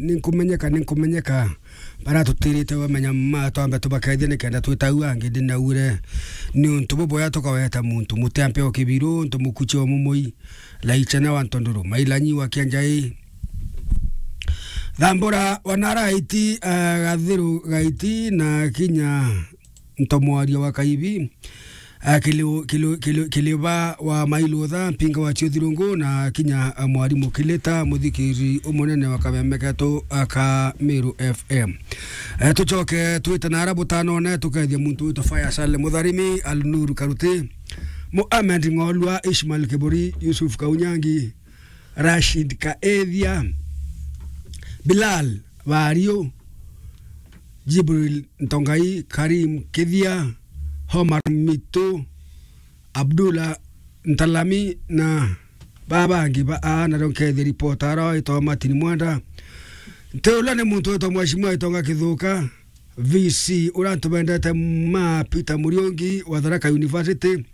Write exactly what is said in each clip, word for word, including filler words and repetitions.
ninkumenyeka, ninkumenyeka. Baratutirite bamenya ma twambe tubakethia nikenda twita au angi ndinaure. Ni untu buboya tukaweta muntu muti ampe o kibiru, untu mukuchi o mumui, laichana wa ntondoro, mailanyi wa kianjai. Thambura wanara aiti, eh, gathiru gaiti na kinya ntomwaria wa kaibi. Ah, kili-, kili-, kili-, kiliba wa mailutha, mpinga wa chiuthirungu, na kinya, ah, mwarimu Kilita, muthikiri umunene wa kameme ketu, ah, ka Meru F M. Eh, tucoke twite na ara butanone, tukethia muntu witwa Faisal Mutharimi, Alnur Karuti, Mohamed Ng'olwa, Ishmael Kiburi, Yusuf Kaunyangi, Rashid Kaethia, Bilal Bario, Jibril Ntongai, Karim Kithia, Omar Mitu, Abdullah Ntalami na babangi ba aa, nario nkethia ripota ara waitwa Martin Mwenda. Nti uria ni muntu witwa Mheshimiwa Itonga Kithuka, V C, uria ntubendete ma Peter Muriungi wa Tharaka University.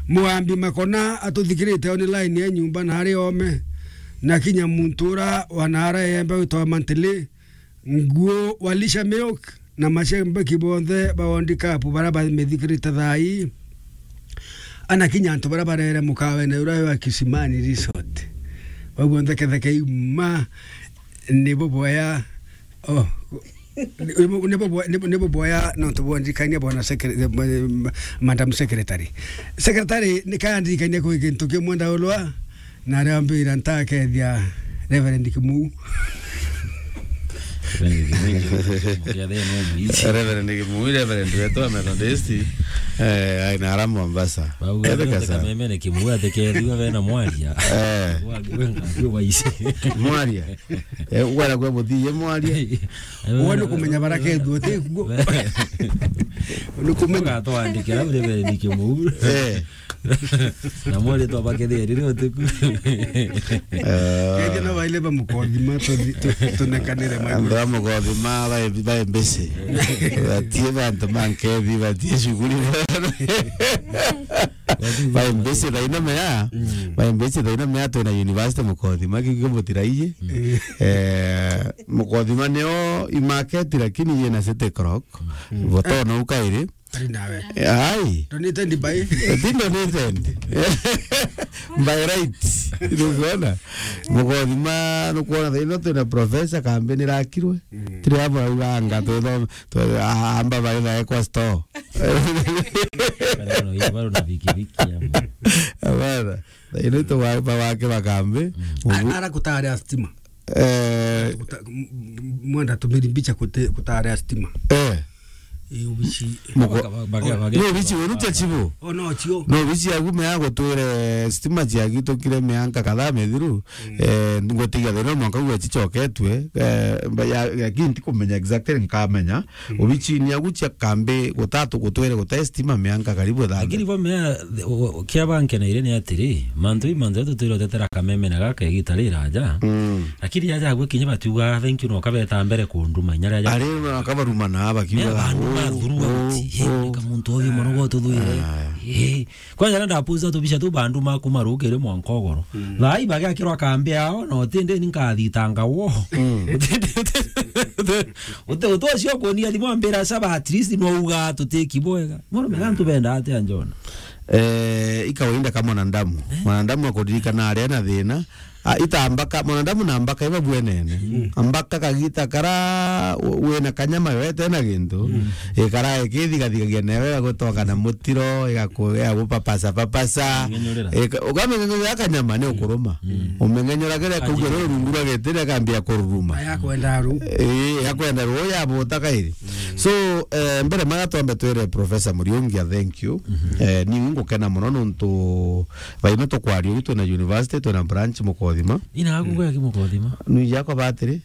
Mwambi Makona atuthikirite online ya nyumba na ari ome. Na kinya muntu uria wa naara yembe witwa Mantili, Nguo wa Lisha Milk na mashambiki bonthe ba World Cup bara bamithikirite thaa ii. Ana kinya antu bara barere mukawene uria wa Kisimani Resort. Bau bonthe ketheke iuma ni buboya. Oh. Ni buboya, ni buboya nontu bwandirikania bwana secre-, eh, Madam Secretary. Secretary, ni kandirikania kwi kintu kimwe ndaulwa. Na aria mbira ntakethia Reverend Kimuu. Reverend Kimuu, Reverend wetu wa Methodist, eh, ai na ara Mombasa. Bau etheka sana. Kameme ni Kimuu atekethua bena mwaria. Eh. Wa, wenga, wa ise. Mwaria. Eh, ugwara kwa muthii, ye mwaria. Uwe ni kumenya bara kethua, ti kuo. Ni kumenya. Gatwandikira Reverend Kimuu. Eh. Na mwari twabakethia riri utiku. Eh. Kethia no baile ba mukothima, tu-, tu-, tunekanire mwe. Andũ a mukothima, bae, bae busy. Batie bantu ma nkethi, batie shughuli. Bae busy thaino mea. Mm. Bae busy thaino mea, twina university mukothima, kiki mutiraiji. Mm. Eh, mukothima nio i market, lakini yina City Clock. Mm. Voto no ukairi. Ari nawe. Ai. Donated by. Ti donated. By right. Nukwona? Mukothima, nukwona thaino twina professor kambi nirakirwe. Mm. Tiri abo auganga, tu-, tu-, amba bari nae kwa store. Bado na, bado na bikibiki ama. Abana. Thaino tu wa, ba wake bakambi. Mm. Ubu- A-, ara kutari a stima. Eh, kuta-, m-, m-, mwenda tumiri mbicha kute-, kutarea stima. Eh. Ii ubici. Muko-, baka-, baka-, baka-, ni ubici wenu tia chibu? O no chio. No ubici yaku mea gutwire stima ciagitukire mianka kadhaa mithiru. Mm. Eh, ngwitigia thina mwanka gwe chichoketwe. Eh, mba ya, ya kinti kumenya exactly nkamenya. Mm. Ubici ni agu chia kambi gutatu gutwire gute stima mianka karibu ithatu. Lakini bo mea, o-, o-, kia bankeneire ni atiri, mantu i mantu tutwire utetera kameme na gaka igita riraja. Mm. Lakini aja agwe kinya batiuga, "Thank you," no kabeta mbere kunduma inya ria ja- Ari no akabaruma na bakiuga, "Oh, bandu ma throughout, oh, eh, oh, ka muntu oyo mono go tuthwire." Ah. Eh, kwanja na ndapuza tubica tu bandu ma kuma rukiri mwanka ugoro. Mm. Thai bagakirwa kambi ao, no tindi ni nkathitanga wo. Mm. Uti, uti, uti, uti, uti, uti, ucio kuonia thimu ambira saba, at least no uga tutiki bwega. Mono mega ntubenda atia njona. Eh, i kawaida ka mwanadamu. Eh? Mwanadamu akuririkana aria na thina. Ah, itambaka, mwanadamu na mbaka iba bwenene. Mm. Mbaka kagita kara we-, wena kanyama wete na gintu. Mm. Ikara ikithigathigagia newe, igagutonga na mutiro, igaku-, igagupapasa papasa. Ming'enyurira. Ika-, ukaming'enyurira kanyama ni ukuruma. Mm. Uming'enyura kira kugira rungu rwa gitiri akambia kururuma. Aya kwenda ru. Eh, ya kwenda ru, ya buta kairi. So, eh, mbere mara twambe twire Professor Muriungi, thank you. Mhm. Eh, ni ngukena muno nontu baino tukwaria ugu twina university, twina branch Mukothima. Ina aku ngweki Mukothima? Ni yako batiri?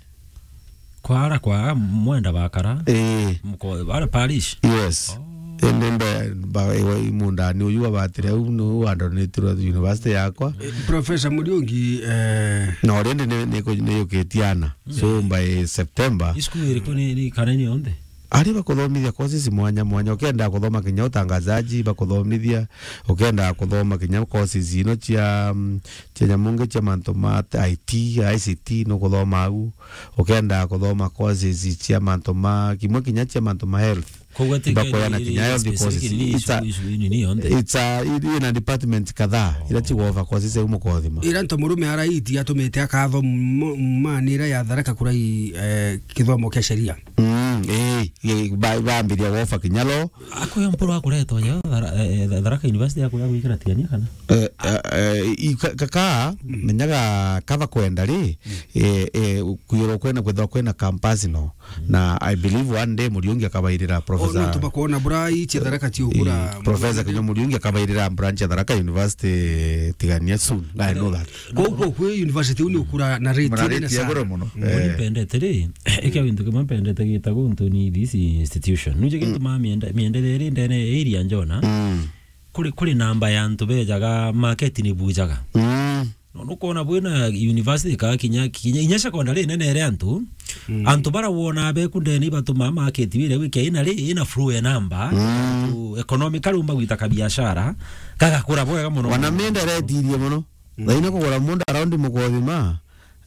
Kwa ara kwa mwenda bakara? Eh. Muko-, ara parish? Yes. Oh. Ende mbe, ba, ewa imundani uyu wa batiri au ni wa donatirwe university yakwa. Eh, Professor Muriungi, eh. No, rende ni, ni, ni yukitiana. So, mm, by September. Isukuru iriku ni, ni kana ni yonthe? Ari bakuthomithia courses mwanya mwanya, ukenda kuthoma kinya utangazaji, bakuthomithia, ukenda kuthoma kinya courses ino cia, mm, cia nyamungi cia mantu ma I T, I C T, nukuthoma au, ukenda kuthoma courses cia mantu ma, kimwe kinya cia mantu ma health. Koguo ati bakoyana kinya health courses. It's a, it's a, ina department kadhaa ira cigwova courses au mukothima. Ira nto murume araiti atumite akatho mu-, mani ira ya Tharaka Kurai, eh, kithomo kia sheria. Mm, eh, eh, ba-, bambiria wofa kinya lo. Akuya mpuru akuretwa ja Thara-, eh, eh, Tharaka University akuya gwikira tigania kana? Eh, eh, eh, i-, ka-, ka-, ka, menyaga kaba kwenda ri, eh, eh, kwirwo kwena, kwithirwa kwena campus no. Na I believe one day Muriungi akabairira. Professor, ona tubakwona bura ichi Tharaka ti ukura. Eh, Professor Kinya Muriungi akabairira branch ya Tharaka University tigania soon. I know that. Koguo kwi university uni ukura na rate iri nene sana. Iguru muno. Mburi mpendete ri, ikia gintu kimwe mpendete gitagwo Ntuni this institution. Nuje gintu ma miende, miende iri ndene area njona. Mm. Kuri, kuri namba ya antu bejaga market ni bujaga. Mm. No, nukwona bwina university ka kinya, kinya, inya secondary nene ere antu. Mm. Antu bara wona beku ndene ibatumaa market wire wikia ina ri, ina flow ya namba. Mm. Antu economically umba gwita kabiashara, kagakura bwega muno. Wana mienda retirie muno. Mm. Thaina kugura munda around mukothima,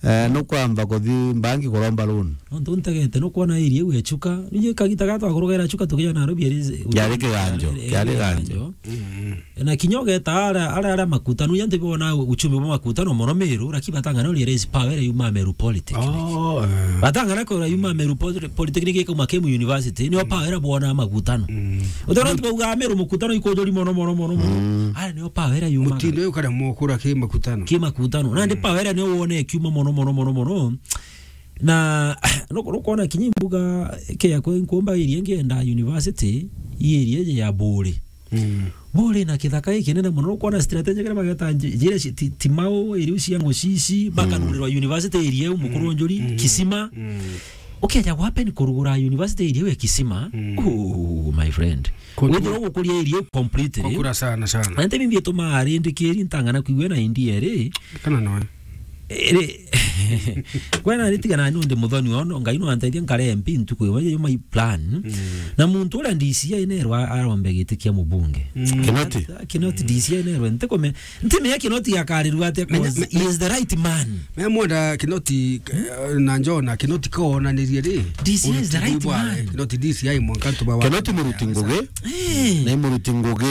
eh, nukwamba kuthi mbangi kuromba loan. Nontu ntegete nukwona area iu echuka, nije kagita gatwa kurugera chuka tukija Nairobi eri. Kiari kiganjo, eri, eri kiari ganjo. Mm. Na kinya ugeta ara, ara, ara makutano, ya ntibi wona uchumi bwa makutano mono Meru, lakini batangana uri raise power ira yuma Meru Polytechnic. Oh, eh. Batangana ko ira yuma Meru Poly-, Polytechnic ikauma Kemu University, niyo power ira bwona makutano. Mm. Utona ntibi uga Meru mukutano ikojori mono, mono, mono, mono. Mm. Ara niyo power ira yuma. Mutindo uyu kare mukura ki makutano. Ki makutano. Nandi power ira niyo wone kiuma mono, mono, mono, mono. Na, nuko-, nukwona kinya imbuga kia kwe nkumba iria ngienda university, i area ya Buri. Mm. Buri na kithaka gikinene mono, nukwona strategy kare bageta nji-, njira ci-, ti, ti mau, iriu cia ngucici, bakanurirwa university area iu mukuru njuri, mm, Kisima. Mm. Ukeja gwapen kurugura university area iu ya Kisima. Mm. Oh, my friend. Withirwa gukuria area iu completely. Kukura sana, sana. Na nte bimbi ituma arindikiri ntangana kwigua na India ri. Kana noe. Ri, kwena ritigana ni undi muthoni wono, Ngai no anteithia nkare M P ntuku imwe, yo my plan. Mm. Na muntu uria D C I nerwa arombe giti kia mubunge. Mm. Kinoti. Kinoti D C I nerwe, ntikume-, ntimenya Kinoti akarirua atia, 'cause he is the right man. Me mwenda Kinoti, eh, na Njona, Kinoti koonanirie ri. D C I is the right man. Kinoti D C I mwanka tuba wa Kinoti muruti ngugi. Eh. Na muruti ngugi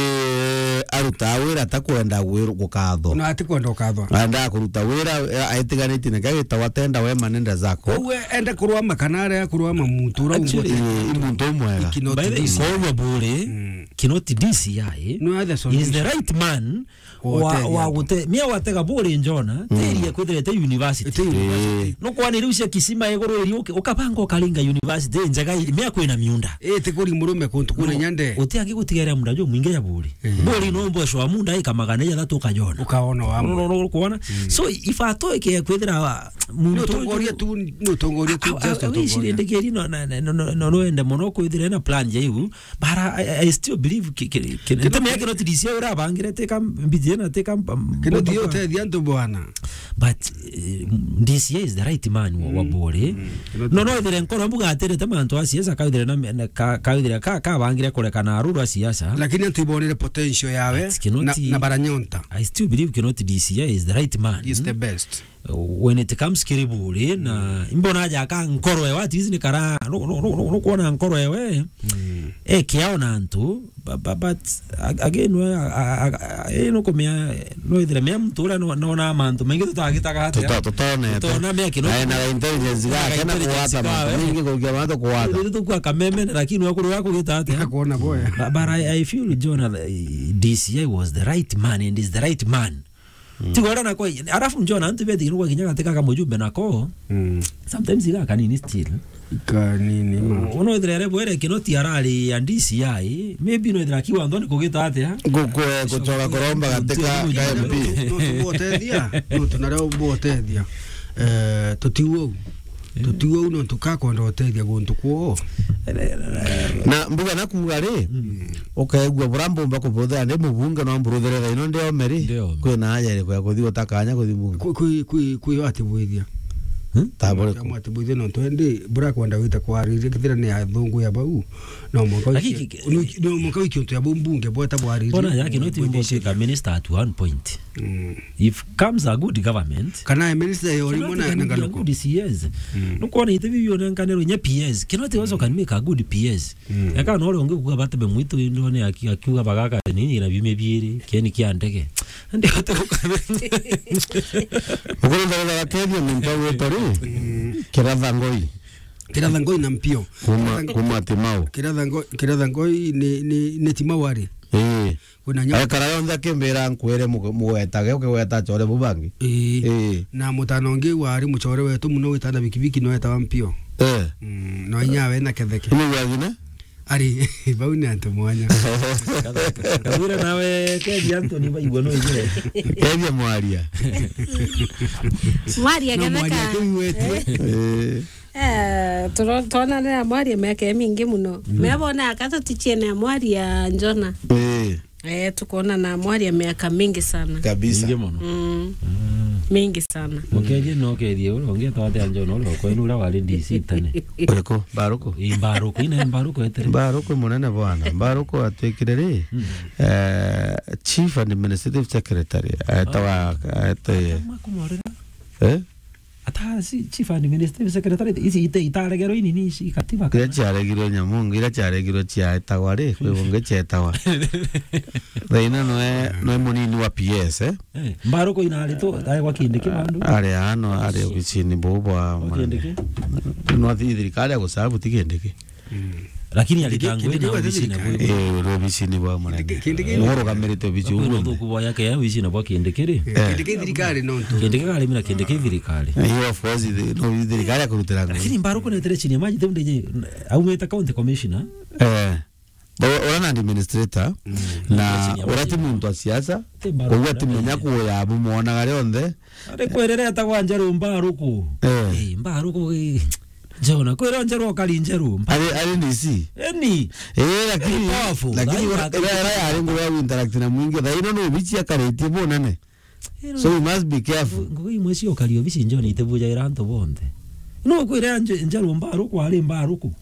aruta wira atakwenda gwiru-, gukathwa. Na atikwenda ukathwa. Enda kuruta wira, eh, aitiganitie na gagita watenda wema nenda zako. Koguo enda kurwama kana aria kurwama muntu ura. Actually, eh, i muntu umwega. By the way, koguo Buri, mm, Kinoti D C I, no, that's all, is the right man wa, wa gute-, mia watega Buri Njona, mm, teria kwithirete university. Ite university. Eh. No kwana riu cia Kisima iguru iri uke-, ukabanga ukaringa university njega iri, mia kwina miunda. Eh, ti kuri murume kuntu kuna nyande. Uti angi gutigaira muunda jo mwingi ya Buri. Eh. Buri no mbwe shwa muunda ika magana jathatu ukajona. Ukaona wa. No, no, no, kuona. Mm. So, ifato ike kwithira muntu utongoria tu, ni utongoria tu, a-, a-, just a-, utongoria. Wicirindikiri no, na, na, no, no, no, no ende mono kwithira na plan ja iu. But I, I, I still believe ki-, ki-, ki-, Kinoti, ntumia Kinoti D C I urabangire teka mbiji na teka mb-, Kinoti mbomba yo kwa- utethia antu bwana. But, eh, D C I is the right man wa, wa Buri. Mm. Kinoti. No, no, ithire nkoro mbuga atirite mantu a siasa, ka ithire na, na ka, ka ithire ka, ka bangire kureka na aruru a siasa. Lakini antu ibonire potential yawe. But Kinoti, na, na baranyonta. I still believe Kinoti D C I is the right man. He is the best. When it comes kiri Buri, na imbona aja aka nkoro ewe, at least ni kara, no, no, no, no, no kuona nkoro ewe. Mm. E kiao na antu, bu-, bu-, but ag-, again, we, a, a, a, a, e, no kumia, no ithire mia muntu uria no, no na mantu maingi tutagitaga atia. Tuta-, tutonete. Tutona mia Kinoti. Na ena intelligence gake na intelligence kuwata mantu kawe. Maingi kurukia mantu kuwata. Riu tukua kameme, lakini we kuru gakugita atia. Akuona boya. But, but I, I feel, John, uh, D C I was the right man and is the right man. Mm. Tiga uria nako, alafu njona antu beti kinugwa kinya gatika ka mujumbe nako. Mm. Sometimes iga kanini still. Kanini ma. Uno ithire ere bwere Kinoti arari ya D C I, maybe no ithira kiwa ndoni kugita atia. Gukwe gucoka kuromba gatika ka M P. No tubotethia, no tunare ubotethia. Eh, tutiuo. Tutiuo uno tukakwenda utethia guntu kuo. Na mbuga na kuuga ri, mm, ukaigua bura mbumba kubuthira ndi mubunge no mburuthire thaino ndi ome ri. Ndi ome. Kwina aja iriku ya kuthi utakanya kuthi mbunge? Kwi, kwi, kwi, kwi ati bwithia. Hmm? Ta buriku. Kamwati bwithe no twendi, burakwenda gwita kwariria, kethira ni athungu ya bau. No mwanka Lakini wiki-, ki-, no, no mwanka wiki untu ya bau mbunge bweta bwariria. Bona yake no ti Bwithe mbo icio. Ka minister at one point. Mm. If comes a good government, Kana e minister ya cannot urimwe na, can na be a Galuku. Good C S. Mm. Nukwona ite bibi onenkanero nye P S. Cannot also can make a good P S. Mm. Eka no ore ungi kuga batebe mwitu ndo ni aki-, akiuga bagaka nini na bime biiri, kieni kia ndege. Ndi atoka. Mukuru ndagitari Kethia muntu agwitwa ri? Kiratha Ngoi. Kiratha Ngoi na Mpio. Kuma, Kiratha Ngoi, kuma Timau. Kiratha Ngoi, Kiratha Ngoi ni, ni, ni Timau ari. Ii. Kuna nyama. Ekara yonthe akimbira nkwire mugo-, mugwetage, ukigweta achore bu bangi. Ii. Ii. Na mutana ungi wari muchore wetu muno witana bikibiki no etawa Mpio. Eh. Mm, no inya we na Ketheke. Ni gwagina? Ari, bau ni antu mwanya. Kawira nawe, Kethia Anthony baigua no ije. Kethia mwaria. Mwaria No, Ketheka. Mwaria kiu wetu. Eh. Eh, turo-, twonanira mwaria miaka imingi muno. Mm. Mebona akata tuchiene mwaria Njona. Eh. Eh, tukona na mwaria miaka mingi sana. Kabisa. Mingi muno. Mm. Mm. Mingi sana. Mukerie no kerie ule ungi twate anjo no ule kwenu ule wari D C tene. Uriku? Mbaruku? Ii, Mbaruku, ina Mbaruku etere. Mbaruku munene bwana. Mbaruku atwikire ri? Mm. Eh, Chief Administrative Secretary. Etawa, ete-, Makumorera. Eh? Ata si chief administrative secretary, ici ite-, itaregerwo inini ici katiba kana? Iria ciaregirwo nyamu, iria ciaregirwo cietagwa ri, kwi bungi cietagwa. Thaina noe, noe munini wa P S, eh? Eh, Mbaruku ina ari tu, ari kwa Kindiki bandu? Ari ano, ari obicini bu bwa Kwa Kindiki? No thi thirikari ya gusabu ti Kindiki. Mm. Lakini Kindiki, alitangu Kindiki ina wa obicini thirikari. Bwe. Eh, uri obicini bwa munene. Kindiki, Kindiki. Urugamirite obici Kwina uguo. Uthuku bwa yake ya obicini bwa Kindiki ri? Eh. Kindiki thirikari no ntu. Kindiki kari mina Kindiki thirikari. Eh, of course, thi-, no thirikari ya kurutira ngugi. Lakini Mbaruku netere chini ya maji, teu ndenye, aumite county commissioner. Eh. Bo-, ura na administrator, Mm. na Chini ya ura maji. Ti muntu wa siasa, Ti Mbaruku koguo na atimenya kuya abu mwonaga rionthe. Ari kwerereta kwa Njeru Mbaruku. Eh. Eh, Mbaruku, eh, Jona, kwira Njeru okari Njeru. Ari, ari D C? Eni. Eh, lakini, Ari powerful. Lakini Ari ura, ura, ura yari ngugi ya interact na mwingi. Thaino no obici akaritie bunene. Ero So you must be careful. Ngugi imwe cio okari obici Njona itebujagira antu bonthe. No kwira Nje-, Njeru Mbaruku ari Mbaruku.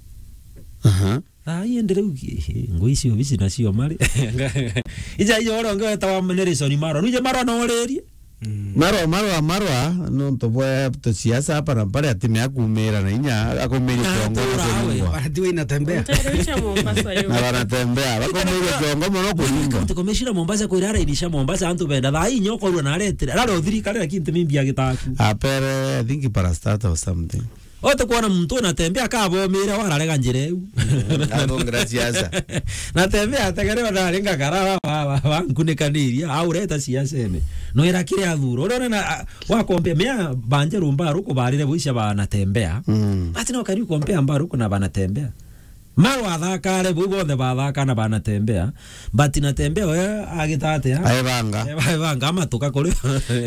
Aha. Thaa ii ndi riu ki-, ngui cio bici nacio mari. Ija iyo uria ungi wetawa Nelson Marwa. Nuje Marwa na uririe? Mm. Marwa, Marwa, Marwa, nontu bwa tusiasa hapa na pale atimea kumira na inya, akumiria Na kiongo atura na awe. Kunyua. Barati we inatembea. Nterecha Mombasa yo. Na wanatembea, bakumiria kiongo mono kunyua. County Commissioner Mombasa kwira arainisha Mombasa antu benda. Thaa ii nyokorwa na aretire. Arare uthirikari lakini ntimimbi agitaku. Apere, I think parastatal or something. Ote kwona muntu unatembea akabomira wararega njira iu. Athongira siasa. Natembea ategerewa nari ngakara wa, wa, wa, wa nkunikaniria, aureta siasa ene. No ira kiri athuro. Uria unena, a, wakompea mea banje rumba ruku barire buisha banatembea. Mm. Ati no kari ukompea mbaruku na banatembea. Marwa athakare, bau bonthe bathaka na banatembea. But natembea we agita atia? Aebanga. Aebanga amatuka kuri.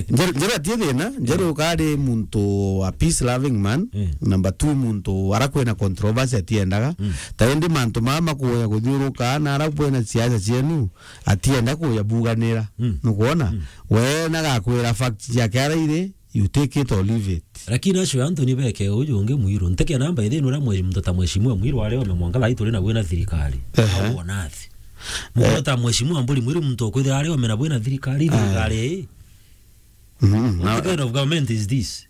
Njeru, Njeru atie thina, Njeru kari muntu wa peace loving man. Mm. Number two, muntu ara kwina controversy atiendaga. Mm. Ta indi mantu maa makuya kuthiuruka, na ara kwina siasa cienu, atienda kuya buganira. Mm. Nukwona? Mm. We nagakwira fact ciake ara iri, you take it or leave it. Lakini acio antu ni beke uju ungi Mwiru. Nteke namba ithini uria mwe-, muntu ta mheshimiwa Mwiru ari ome mwanka thaa ii turi na bwina thirikari. Ehe. Au onathi. Muntu Eh. ta mheshimiwa Mburi Mwiru muntu okwithira ari ome na bwina thirikari, Eh. thirikari ii. Mhm, na What kind of government is this?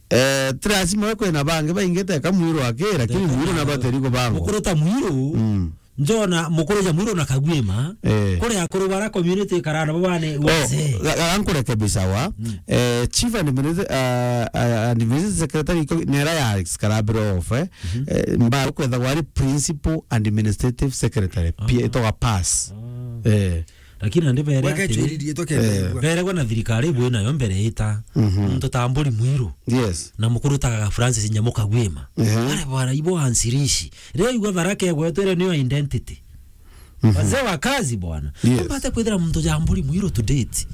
Eh, ti lazima we kwina bangi baingi teka Mwiru aki, lakini Teka Mwiru na nabo ateri kubangwa. Mukuru ta Mwiru. Mm. Njona mukuru ja Mwiru na Kagwima. Eh. Kuri akuru bara community karana babane Oh, wazee. Ga-, ga-, nkurekebisha wa. Mm. Eh, chief administrative, uh, uh, administrative secretary iko nera ya karabiro off, eh. Mhm. Eh, mba kwetha wari principal administrative secretary. Ah. Pia itoga pass. Ah. Eh. Lakini andi bere Weka atiri, chwiririe tokende Eh. igua. Bere gwa na thirikari bwe nayo mbere ita. Mhm. Muntu ta Mburi Mwiru. Yes. Na mukuru ta Francis Nyamu Kagwima. Ehe. Bare bwana ibo ansirishi. Riu igwa Tharaka egwetwere niyo identity. Mhm. Wazee wa kazi bwana. Yes. Mbate kwithira muntu ja Mburi Mwiru to date.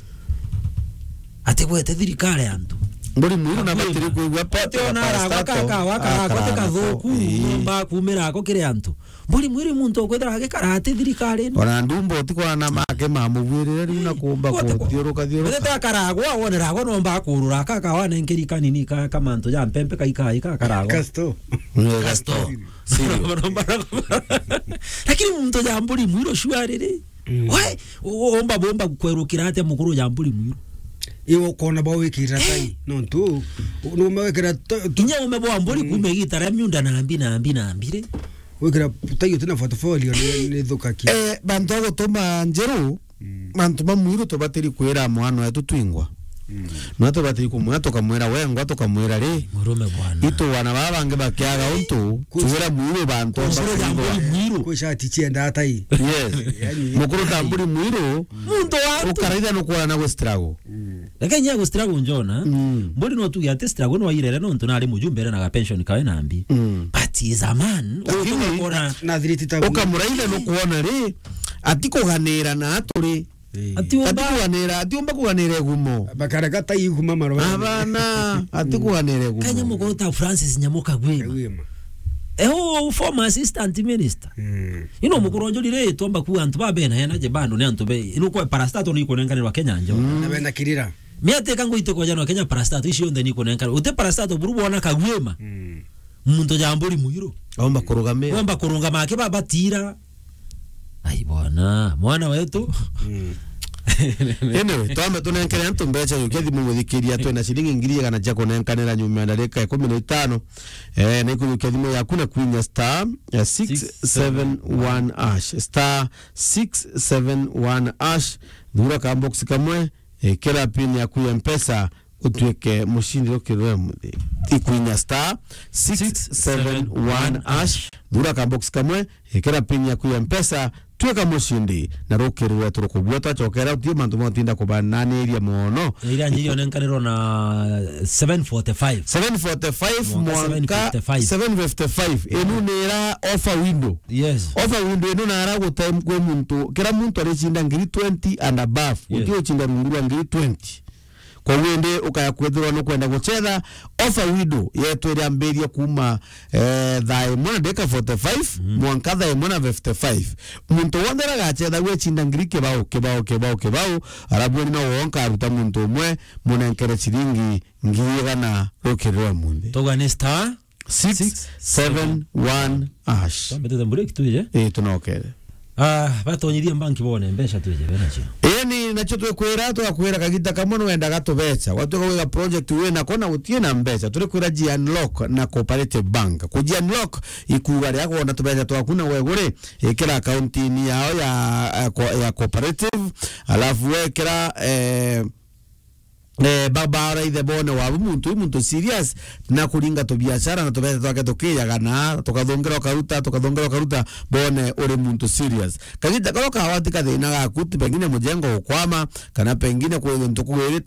Atigwete thirikari antu. Mburi mwiru na batiri kwigua pete. Ote ona aragwa kaka, wakaragwa te kathuku, ii, nomba kumira ako kiri antu. Mburi mwiru muntu ukwithira agikara ati thirikari. Ona ndumbo ti kwana make mamugwirire riu na kumba kuthiuruka thiuruka. Wete akaragwa, wonera agwa nomba kurura kaka wana nkiri kanini ka, ka mantu ja mpempe kai kai ka karagwa. Kasto. Ni kasto. Sio. Lakini muntu ja mburi mwiru shua riri. Mm. We, u-, u-, omba, omba kwerukira atia mukuru ja mburi mwiru? Iwe ukona ba wikira tai, nontu, u-, nume wikira to-, to- Kinya ume bwa mburi, mm, kume gitara miunda na mbi, na mbi, na mbi ri. Wikira tai utina portfolio ni, ni thukakia. Eh, bantu a gutuma njeru, mm, bantu ba mwiru tubatiri kwira mwana wetu twingwa. Mm. No tubatiri kumwira, tukamwira wengwa, tukamwira ri. Murume bwana. Itu wana baba bangi bakiaga untu, tuwira mwiru bantu. Mukuru ja mburi mwiru. Kwi shati chienda atai. Yes. Yani, mukuru ta mburi mwiru. Muntu wa ukaraitha nukwona na gwe struggle. Mm. Lakini ya gwe struggle njona. Mm. Mburi no tuge ati struggle no irere nontu nari mujumbe na ga pension kawe na mbi. Mm. But he is a man. Lakini ukona na thiriti ta ukamuraitha nukwona ri, ati kuganira na aturi. Ii. Ati umba- ati kuganira, ati umba kuganira igumo. Bakarega ta iguma marwa. Abana, ati kuganira igumo. Kenya mukuru ta Francis Nyamuka Gwima. Gwima. Eh, u former assistant minister. Mm. Ino mukuru onjuri ri, twamba kuga antu ba bena ena je bando ni antu be. Ino kwa parastato ni kunenganirwa Kenya njo. Mm. Na bena kirira. Mi ati ka nguite kwa jana Kenya parastato icio nthe ni kunenganirwa. Uti parastato buru bona Kagwima. Mm. Muntu ja mburi mwiru. Omba kurugamia. Omba kurungama ake baba tira. Ai bwana, mwana wetu. Mm. Anyway, twambe tunenkere antu mbeca, yukia thimu muthikiria, twina ciringi ngiri igana cia kunenkanira nyuma ya ndarika ikumi na itano. Eh, na ikujukia thimu yaku na kwinya star, eh, six seven one hash. Star six seven one hash. Thura ka box kamwe, eh, kira pin yaku ya Mpesa, utuike mushindi rukiri rwa muthi. Ikwinya star six seven one hash. Thura ka box kamwe, ikira pin yaku ya Mpesa, tuika mushindi, na rukiri rwetu rukubua. Twacokera utie mantu ma utinda kubananiria mono. Iria njiri onenkanirwo na seven forty-five. Seven forty-five mwanka mwanka seven fifty-five. Seven fifty-five. Inu ni ira offer window. Yes. Offer window inu nara gutem kwi muntu, kira muntu aricinda ngiri twenty and above. Yes. Uti ucinda rungu rwa ngiri twenty. Koguo indi ukaya kwithirwa nukwenda gucetha offer window yetu iria ambiria kuma, eh, thaa imwe na ndagika forty-five, mm, mwanka thaa imwe na fifty-five. Muntu wonthe aragacetha gwecinda ngiri kibao, kibao, kibao, kibao, arabu ni no wonka aruta muntu umwe, munenkere ciringi ngiri igana rukiri rwa munthi. Tugane star six seven one hash. Twambitite break twije? Ii, tunokere. Ah, batonyirie mbanki bone mbeca twije benacio. Ii, ni nacio twikwira, twakwira kagita kamwe nwendaga tubeca. Watuka gwika project wina ko na gutie na mbeca. Turikwira ji unlock na Cooperative Bank. Kuji unlock ikuga ria kwona tubeca twaku na wegure, ikira account-ini yao ya, ya co-, ya Cooperative. Alafu wekira, eh, eh, ba-, baraithe bone wabu muntu, muntu serious, na kuringa tubiashara na tubete twake tukiyagana, tukathongera ukaruta, tukathongera ukaruta, bone uri muntu serious. Kagita karo kawati kathina gaku, ti pengine mujengo gukwama, kana pengine kwi gintu kugwirite,